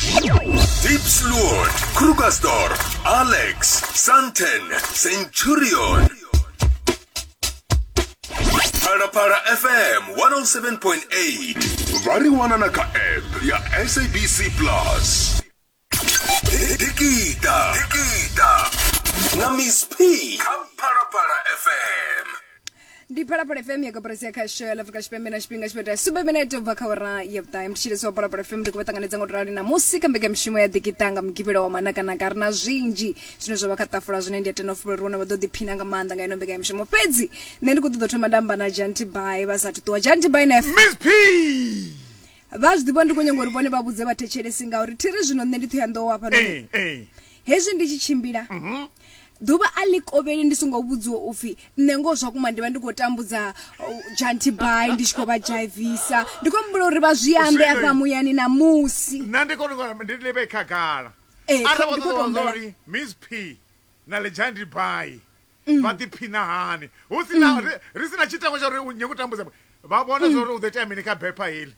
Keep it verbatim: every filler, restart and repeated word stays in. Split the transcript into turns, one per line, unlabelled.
Diepsloot, Krugersdorp, Alex, Sandton, Centurion. Phalaphala F M one oh seven point eight vha ri wana na kha app ya S A B C Plus. Dikita Dikita na Miss P kha Phalaphala F M.
Ndi Phalaphala F M ya koporasi ya khasho ya Afrika Tshipembe, na tshifhinga tshipeta sumbe minete ubva kha awara ya vhuṱahe. Mthetshelesi wa Phalaphala F M, ndi khou vha ṱanganedza ngo to rali namusi kha mbekanyamushumo ya Ḓikita nga Mugivhela wa manakanaka. Ri na zwinzhi zwine zwa vha kha ṱafula zwine ndi a tenda u fulufhela uri vhone vha ḓo ḓiphina nga maanḓa nga ino mbekanyamushumo. Fhedzi nṋe ndi khou ṱoḓa u thoma nda amba na Janti Bai vha sathu ṱuwa. Janti Bai na
Miss P.
Vha zwi ḓivha, ndi khou nyanga uri vhone vha vhudze vhathetshelesi, ngauri thiri zwino nṋe ndi Ṱhohoyanḓou hafhanoni.
Eh, eh.
Hezwi ndi tshi tshimbila ḓuvha a ḽi kovheli ndi songo vhudziwa upfhi nṋe ngoho zwa kuma ndi vha ndi khou tambudza uh, Janti Bai, ndi tshi khou vha dzhaivisa. Ndi khou humbula uri vha zwi ambe
Zwino-
afha muyani namusi.
Nṋe ndi kone u ndi livhe khagala.
Eh,
Arali vha
ndi khou
ṱoḓa
tou humbela.
uri Miss P na Legend Bai vha ḓiphina hani hu si na ri- ri si na tshitengo tsha uri u nyago u tambudza, vha vhona zwa uri u ḓo itea mini kha bepha heḽi.